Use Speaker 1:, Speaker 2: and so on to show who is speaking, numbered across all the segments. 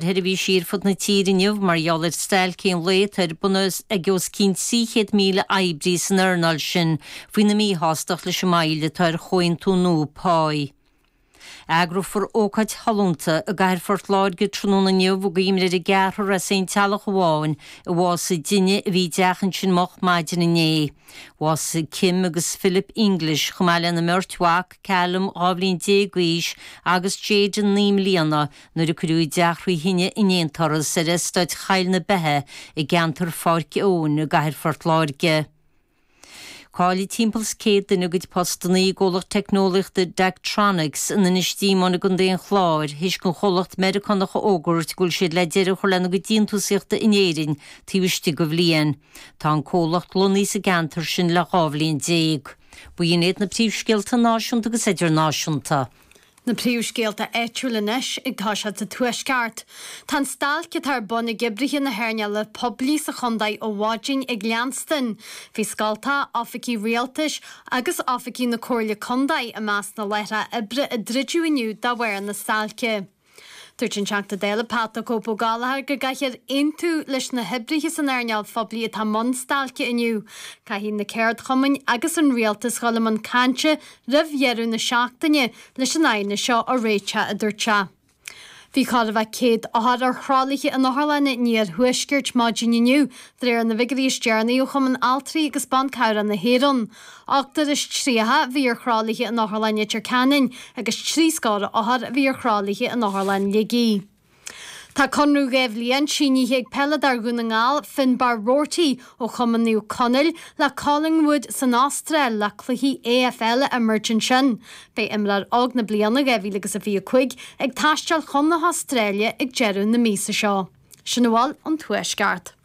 Speaker 1: Sheirbhísí ar fud na tíre inniu mar gheall ar stailc aon lae atá ar bun ag os cionn 300,000 oibrí san earnáil sin faoina míshástacht leis an moill atá ar chomhaontú nua páí. Eagrófar ócáid shollúnta i gcathair Phort Láirge tráthnóna inniu i gcuimhne ar an gceathrar as aon teaghlach amháin a bhásaigh i dtine a bhí i dteach ansin moch maidin inné. Bhásaigh Kim agus Philip English chomh maith lena mbeirt mhac, Callum, 12 bhliain d'aois, agus Jayden, 9 mbliana, nuair a cuireadh a dteach thrí thine in aon turas ar eastáit Choill na Beithe i gceantar Pháirc Eoin i gcathair Phort Láirge. Caillfidh timpeall is 100 duine a gcuid postanna i gcomhlacht teicneolaíochta Daktronics in Inis Díomáin i gContae an Chláir théis don chomhlacht Meiriceánach a fhógairt go bhfuil siad le deireadh a chur lena gcuid déantúsaíochta in Éirinn taobh istigh de bhliain. Tá an comhlacht lonnaithe sa gceantar sin le 12 bhliain. B'in iad na príomhscéalta náisiúnta agus idirnáisiúnta.
Speaker 2: Na príomhscéalta áitiúil anois ag toiseacht sa Tuaisceart. Tá an stailc atá ar bun ag oibrithe na hearnála poiblí sa chontae ó mhaidin ag leanstan. Bhí scoltacha, oifigí rialtais agus oifigí na Comhairle Contae i measc na láithreacha oibre a druideadh inniu de bharr na stailce. Dúirt an Teachta Dála Pat 'The Cope' Ó Gallchóir go gcaithfear aontú leis na hoibrithe san earnáil phoiblí atá i mbun stailce inniu. Caithfidh na ceardchumainn agus an rialtas dhul i mbun cainte roimh dheireadh na seachtaine leis an aighneas seo a réiteach, a dúirt sé. Bhí chóir a bheith 100 othar ar thralaithe in otharlanna an iarthuaiscirt maidin inniu, de réir na bhfigiúirí is deireanaí ó Chumann Altraí agus Ban Cabhrach na hÉireann. Ochtar is 30 a bhí ar thralaithe in Otharlann Leitir Ceanainn agus trí scór othar a bhí ar thralaithe in Otharlann Shligigh. Tá conradh 2 bhliain sínithe ag peileadóir Dhún na nGall, Finbarr Roarty ó Chumann Naomh Conaill le Collingwood san Astráil le cluichí AFL a imirt ansin. Beidh imreoir óg na bliana 2025 ag taisteal chun na hAstráile ag deireadh na míosa seo. Sin a bhfuil ón Tuaisceart.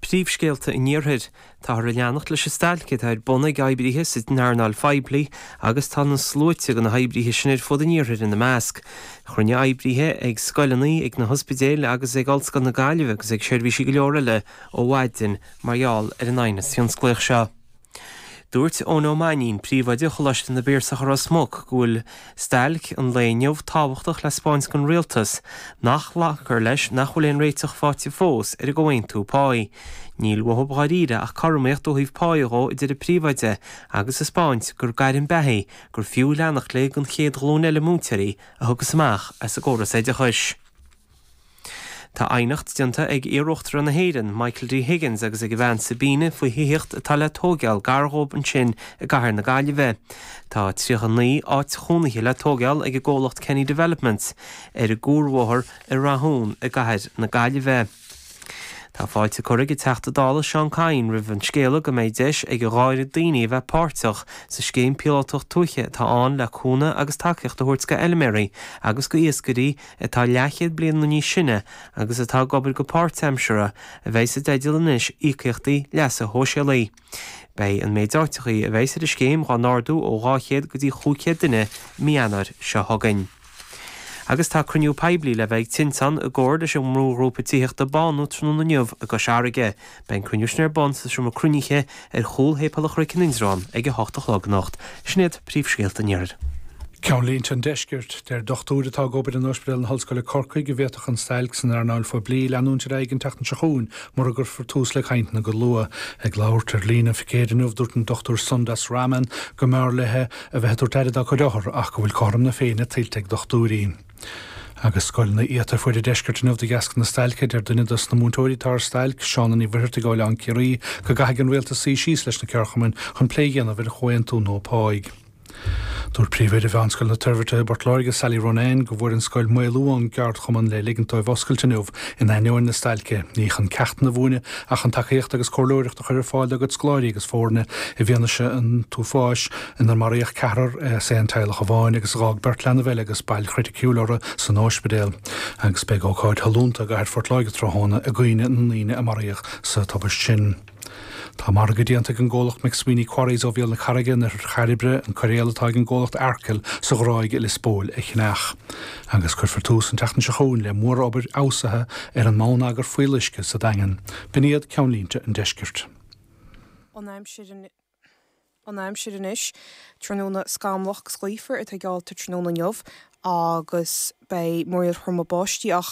Speaker 3: Príomhscéalta an Iarthair. Táthar ag leanacht leis an stailc atá ar bun ag oibrithe san earnáil phoiblí agus tá na sluaite de na hoibrithe sin ar fud an iarthair ina measc. Chruinnigh oibrithe ag scoileanna, ag na hospidéil agus ag Ollscoil na Gaillimhe agus ag seirbhísí go leor eile ó mhaidin mar gheall ar an aighneas thionsclaíoch seo. Dúirt Eoin Ó Mainnín, príomhoide Choláiste na bPiarsach i Ros Muc, go bhfuil stailc an lae inniu tábhachtach le 'spáint don rialtas nach nglacfar leis nach bhfuil aon réiteach faighte fós ar an gcomhaontú páí. Níl uathu dháiríre ach cothromaíocht ó thaobh páí dhó, a deir an príomhoide, agus a 'spáint gur gairm beatha í gur fiú leanacht léi don chéad ghlúin eile múinteoirí a thiocfas amach as an gcóras oideachais. Tá aighneacht déanta ag iarUachtarán na hÉireann, Michael D. Higgins agus ag a bhean Sabina faoi thithíocht atá le tóigeáil gar dhóibh ansin i gcathair na Gaillimhe. Tá 39 áit chónaithe le tóigeáil ag an gcomhlacht Kenny Developments ar an gCuarbhóthar i Rathún i gcathair na Gaillimhe. Tá fáilte curtha ag an Teachta Dála Seán Kyne roimh an scéala go mbeidh deis ag a dháireag daoine a bheith páirteach sa scéim píolótach tuaithe atá ann le cúnamh agus tacaíocht a thabhairt go fheilméaraí agus go iascairí atá leathchéad bliain nó níos sine agus atá ag obair go páirtaimseartha, a bheidh sa dteideal anois íocaíochtaí leasa shóisialaigh. Beidh an méid áiteachaí a bheidh ar an scéim dhá n-ardú ó 200 go dtí 500 duine i mí Eanáir seo chugainn. Agus tá cruinniú poiblí le bheith ag Tinteán i gcomhar leis an mbrúghrúpa tithíochta Bánú tráthnóna inniu i gCois Fharraige. Beidh an cruinniú sin ar bun sa seomra cruinnithe ar chúl Shéipéal an Chnoic in Indreabhán ag 8 a chlog anocht. Sin iad príomhscéalta an Iarthair.
Speaker 4: Ceannlínte an Deiscirt. Deir dochtúir atá ag obair in Ospidéal na hOllscoile Corcaigh go bhféadfadh an stailc san earnáil phoiblí leanúint ar aghaidh an tseachtain seo chugainn mura gcuirfear tús le cainteanna go luath. Ag labhairt ar líne ón phicéad inniu dúirt an Dr Sundas Raman go mb'fhearr léi a bheith ag tabhairt aire dá cuid othar ach go bhfuil cothrom na Féinne tuillte ag dochtúirí. Agus scoileanna iata ar fuaid an deiscirt inniu de dheasca na stailce, deir duine dos na múinteoirí atá ar stailc, Shauna Ní Mhuircheartaigh ó Oileán Ciarraí, go gcaithfidh an Rialtas suí síos leis na ceardchumainn chun plé a dhéanamh ar chomhaontú nua páigh. Dúirt Príomhoide Mheánscoil na Toirbhirte i bPort Láirge, Sally Ronayne, go bhfuair an scoil maolú ón gceardchumann le ligint dóibh oscailt inniu in ainneoin na stailce, ní chun ceachtanna a mhúineadh ach chun tacaíocht agus comhairleoireacht a chur ar fáil dá gcuid scoláirí agus foirne i bhfianaise an t-uafáis inar maraíodh ceathrar as aon teaghlach amháin agus a dh'fhág beirt leanbh eile agus bail chriticiúil orthu san óispidéal. Agus beidh ócáid shollúnta i gcathair Phort Láirge tráthnóna i gcuimhne na ndaoine a maraíodh sa tubaist sin. Tá margadh déanta ag an gcomhlacht McSweeney Quarries ó Bhéal na Carraige in oirthear Chairbre an coiréal atá ag an gcomhlacht Arkle sa Ghráig i Lios Póil a cheannach. Agus cuirfear tús an tseachtain seo chugainn le mórobair fheabhsaithe ar an mbonneagar fuíolluisce sa Daingean. B'in iad ceannlínte an deiscirt.
Speaker 5: An aimsir An aimsir anois. Tráthnóna scamallach agus gaofar atá geallta tráthnóna inniu. Agus beidh múraíl throma báistí á.